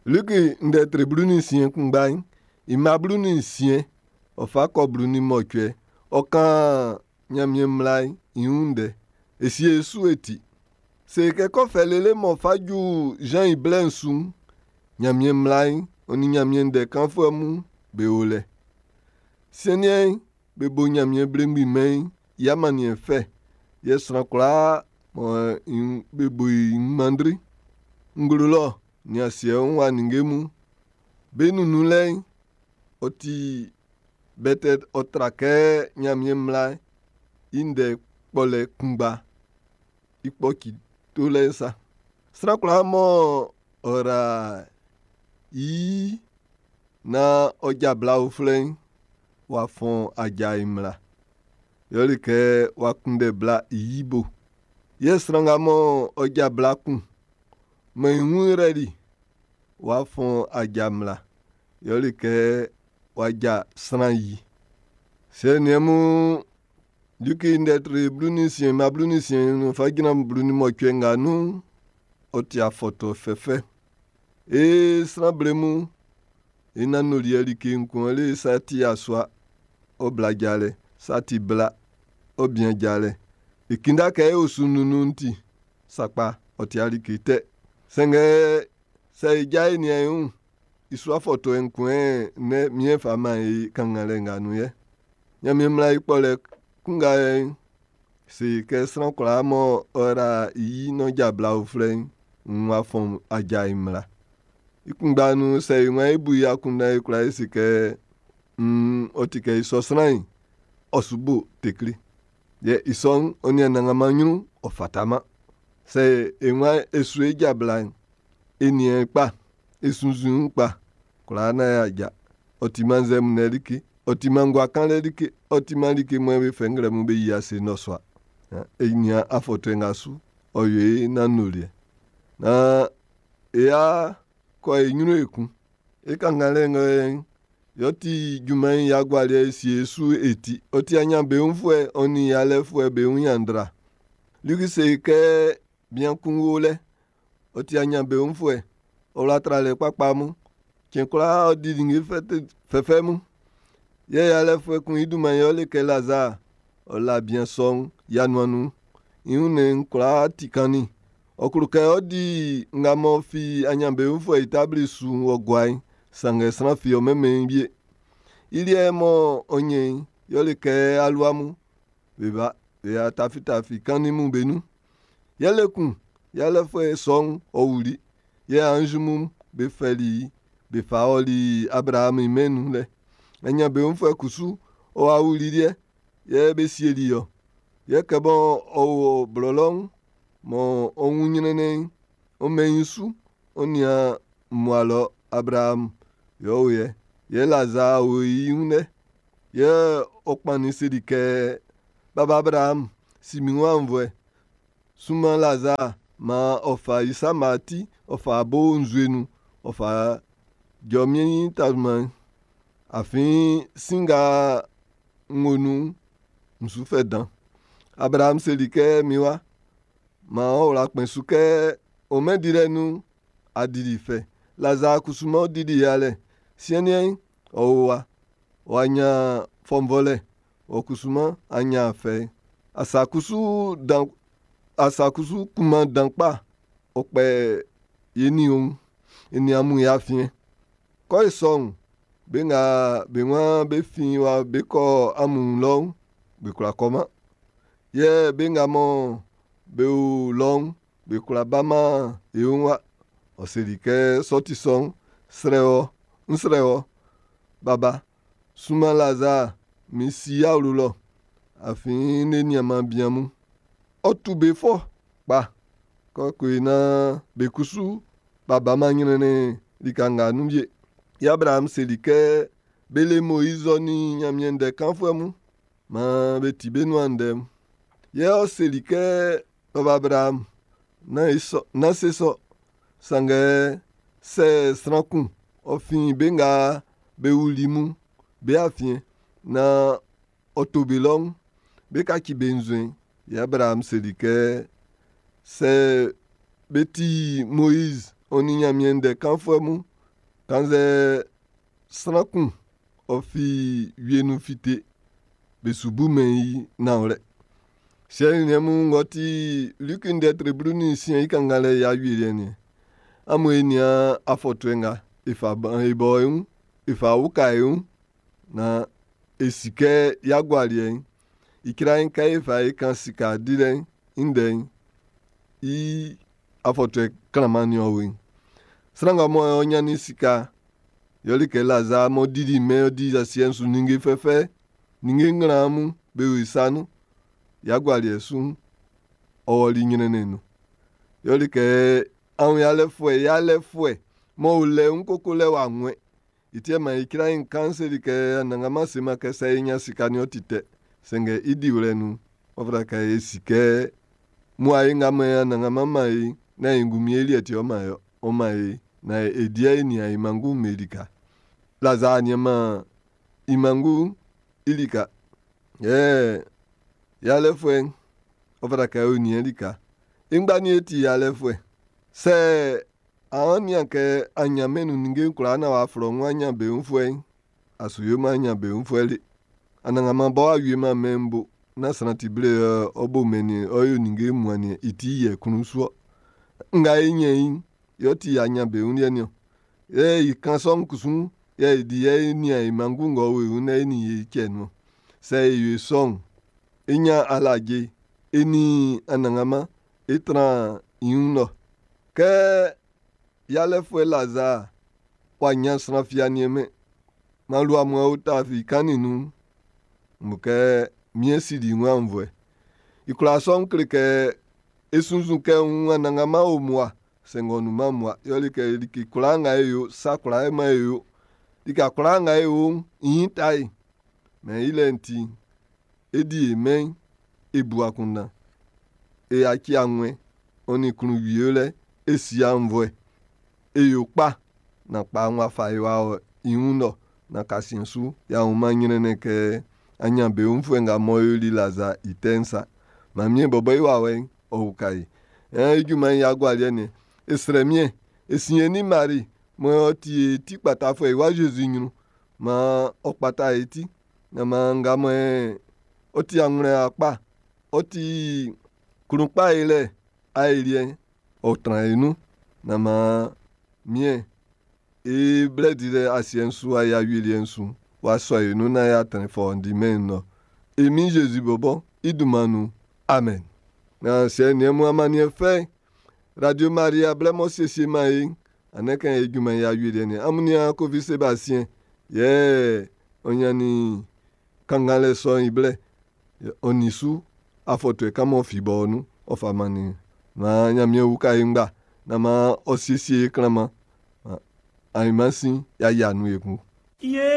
Liki ndɛ tre 16 kunngba'n, i mma 16 ɔ fa kɔ 18, ɔ kan Ɲanmiɛn mmla'n i wun ndɛ. E sie e su e ti. Se kɛ kɔ fɛ lele m'ɔ fa ju Zan i blɛ'n su'n, Ɲanmiɛn mmla'n ɔ nin Ɲanmiɛn ndɛ kanfuɛ mun be o lɛ. Siɛn'n, be bo Ɲanmiɛn Belemgbin Mɛn'n i amanniɛn fɛ, yɛ sran kwlaa mɔ be bo i wun manndri. Nglo lɔ nin asiɛ wun wa ninnge mun, be nunnunlɛ'n, ɔ ti bɛtɛ ɔ tra kɛ Ɲanmiɛn mmla'n i ndɛ kpɔlɛ kunngba i kpɔci tolɛ'n sa. Sran kwlaa mɔ ɔ ra i yi naan ɔ ja bla uflɛ'n, w'a fɔn aja'n i mmla. Yɛle kɛ w'a kunndɛ bla i yi bo. Yɛ sran nga mɔ ɔ ja bla kun mɔ i wun rɛli, w'a fɔn aja mmla. Yɛle kɛ w'a ja sran yi. Siɛ niɛn mun, Liki ndɛ tre 16 mma 16 fa jran 18 nga nun'n, ɔ ti afɔtuɛ fɛfɛ. Ee, sran ble mun, e nanndoliɛ like kun le sa ti yasua, ɔ bla jalɛ, sa ti bla, ɔ bian jalɛ. E kinda kɛ e osu nunnun'n ti, sakpa, ɔ ti like tɛ. Sanngɛ sɛ e ja e nian e wun, i su afɔtuɛ'n kun nɛ miɛn fa man e kannganlɛ nga nun yɛ. Ɲanmiɛn mmla i kpɔlɛ kun nga yɛ'n, se kɛ sran kwlaa mɔ ɔ ra i yi n'ɔ ja bla uflɛ'n, nn w'a fɔn aja i mmla. I kunngba nun sɛ e waan e bu i akunndan e kwla e se kɛ nn ɔ ti kɛ i sɔ sran'n, ɔ su bo tekle. Yɛ i sɔ'n, ɔ nin Anannganman ɲrun, ɔ fataman. Sɛ e waan e su e ja bla'n, e nian kpa, e sunnzun kpa, kwlaa naan y'a ja. Ɔ timan nzɛmunlɛ like, ɔ timan ngua kanlɛ like, ɔ timan like mɔ be fɛ nglɛmun be yi ase nnɔsua. E nian afɔtuɛ nga su, ɔ yo e nanndoliɛ. Naan e ya kɔ e ɲrun ekun. E kannganlɛ nga yɛ'n, yɛ ɔ ti junman'n i agualiɛ e sie su e ti. Ɔ ti aɲanbeunfuɛ ɔ nin yalɛfuɛ be wun ɲanndra. Liki se kɛ bian kun wo lɛ, ɔ ti aɲanbeunfuɛ, ɔ wla tralɛ kpakpa mun. Cɛn kwlaa ɔ di ninnge fɛfɛ mun. Yɛ yalɛfuɛ kun i dunman yɛ ɔ le kɛ Lazaa. Ɔ la bian sɔ'n i anuan nun. I wunnɛn'n kwlaa ti kannin. Ɔ klo kɛ ɔ́ dí nga m'ɔ fi aɲanbeunfuɛ i tabli su'n ɔ gua'n, sanngɛ sran fi ɔ mɛnmɛn i wie. I liɛ mɔ ɔ ɲɛn i'n, yɛle kɛ alua mun, be ba be ya tafitafi kannin mun be nun. Yɛle kun, yalɛfuɛ sɔ'n ɔ wuli. Yɛ anzi mun be fɛli i be fa ɔli Abraamu i mɛn'n nun lɛ. Aɲanbeunfuɛ kusu ɔ wa wuli liɛ, yɛ be sieli i ɔ. Yɛ kɛ bɔ ɔ o blɔlɔ'n, mɔ ɔ wun ɲrɛnnɛn'n, ɔ mɛn i su, ɔ nian mmua lɔ Abraamu yɛ ɔ o yɛ. Yɛ Lazaa o i wun lɛ. Yɛ ɔ kpannin seli kɛ, Baba Abraamu, si min wun aunnvuɛ. Sunman Lazaa maan ɔ fa i sama ti, ɔ fa bo nzue nun, ɔ fa jɔ min taaman'n. Afin sin nga n wo nun'n, n su fɛ dan. Abraamu seli kɛ, min wa, maan ɔ wla kpɛn su kɛ ɔ mɛn dilɛ nun'n, a dili fɛ. Lazaa kusu m'ɔ dili yalɛ. Siɛn'n, ɔ o wa, w'a ɲan fɔnvɔlɛ. Ɔ kusu mɔ a ɲan fɛ. Asa kusu dan asa kusu kunman dan kpa ɔ kpɛ ye nin òun, e nin amun e afiɛn. Kɔ i sɔ'n, be nga be waan be fin wa be kɔ amun wun lɔ'n, be kwla kɔman. Yɛ be nga mɔ be o lɔ'n, be kwla baman e wun wa. Ɔ seli kɛ sɔ ti sɔ'n, srɛ wɔ, n srɛ wɔ, baba, sunman Lazaa min si i awlo lɔ, afin n le niaanman bian mun. Ɔ tu be fɔ kpa, kɔ koe naan be kusu b'a baman ɲrɛnnɛn lika nga nun wie. Yɛ Abraham seli kɛ be le Moiz ɔ nin Ɲanmiɛn ndɛ kanfuɛ mun, maan be ti be nuan ndɛ'n. Yɛ ɔ seli kɛ, Baba Abraham, nán se sɔ. Sanngɛ sɛ sran kun ɔ fin be nga be wuli mun be afiɛn naan ɔ to be lɔ'n, be kaci be nzuɛn'n. Yɛ Abraham seli kɛ, sɛ be ti Moiz ɔ nin Ɲanmiɛn ndɛ kanfuɛ mun, Kannzɛ sran kun ɔ fi wie nun fite, be su bumɛn i nanwlɛ. Siɛ nin niɛn mun ng'ɔ ti Liki ndɛ tre 16 i kannganlɛ i awieliɛ nin. Amun e nian afɔtuɛ nga e fa ban e bɔ e wun, e fa uka e wun, naan e si kɛ i agualiɛ'n, icra'n kɛ e fa e kan sika dilɛ'n i ndɛ'n, i afɔtuɛ klanman nin ɔ weiin. Sran nga mɔ ɔ ɲannin sika, yɛle kɛ Lazaa m'ɔ dili mɛn ɔ di asiɛ'n su ninnge fɛfɛ, ninnge nglan mun be o i sa nun. I agualiɛ su'n, ɔ wɔli ɲrɛnnɛn nun. Yɛle kɛ awunyalɛfuɛ yalɛfuɛ m'ɔ o lɛ ń koko lɛ w'a nwɛn. I ti man icra'n kan seli kɛ Anannganman seman kɛ sɛ e ɲan sika ni ɔ ti tɛ. Sanngɛ i diwlɛ nun'n, ɔ fata kɛ e si kɛ muae nga mɔ Anannganman man e'n, nán e ngunmin e liɛ ti ɔ man e ɔ man e naan e di e nian e manngun'm be lika. Lazaa nianman i manngun'n i lika. Yɛ yalɛfuɛ'n, ɔ fata kɛ ɔ nian lika. E ngba ni e ti yalɛfuɛ. Sɛ an nian kɛ a ɲan mɛn nun ninnge'n kwlaa naan w'a flɔ wun aɲanbeunfuɛ'n, a su yoman aɲanbeunfuɛ le. Anannganman bɔ w'a wieman mɛn'n bo, nán sran ti ble yɛ ɔ bo mɛn nin ɔ yo ninnge mun nin i ti yɛ klun su-ɔ. Nga e ɲɛn i'n, yɛ ɔ ti aɲanbeun liɛ niɔn. Yɛ i kan sɔ'n kusu'n, yɛ e di yɛ e nian e manngun ng'ɔ o e wun naan e nin ye cɛ nun. Sɛ e yo sɔ'n, e ɲan alaje, e nin Anannganman e tran i wun lɔ. Kɛ yalɛfuɛ Lazaa w'a ɲan sran fi a niɛnmɛn, man lua mun o ta fi kannin nun'n, mo kɛ miɛn sili i wun aunnvuɛ. I kwlaa sɔ'n kle kɛ e sunnzun kɛ wun Anannganman o mmua, sanngɛ ɔ nunman mmua. Yɛle kɛ like kwlaa nga e yo, sa kwlaa e man e yo, lika kwlaa nga e o'n, i ɲin ta e. Mɛ i lɛ'n ti'n, e di e mɛn'n, e bu akunndan, e yaci awɛn, ɔ nin klun wie lɛ, e si aunnvuɛ, e yo kpa, na kpa w'a fa e w'a ɔ i wun lɔ, na kasiɛn su, y'a wunman ɲrɛnnɛn kɛ aɲanbeunfuɛ nga m'ɔ yoli Lazaa i tɛ'n sa. Ɲanmiɛn bɔbɔ i wawɛ'n, ɔ uka e. Ɛn, i junman'n i agualiɛ nin e srɛ Miɛn, e si e nin Mari, mɔ ɔ ti e ti kpatafuɛ i wa Zezi ɲrun, maan ɔ kpata e ti. Na maan nga mɔ ɔ ti anwlɛn kpa, ɔ ti klun kpa e lɛ aeliɛ'n, ɔ tran e nun. Na maan Miɛn e blɛ dilɛ asiɛ'n su a i awieliɛ'n su w'a sɔ e nun naan y'a trɛn fɔundi mɛn'n nun. E Min Zezi bɔbɔ i dunman nun. Amen. Na siɛ niɛn mun amanniɛn fɛ Radio Maria blɛ m'ɔ siesie man e'n, anɛ kan e junman i awieliɛ nin amun nian Kofi Sebastien yɛ ɔ ɲannin kannganlɛ sɔ'n i blɛ ɔ nin su afɔtuɛ kan m'ɔ fi bɔ nun ɔ fa mannin maan Ɲanmiɛn uka e ngba na maan ɔ siesie e klanman ainman sin y'a yia nun ekun. Ye.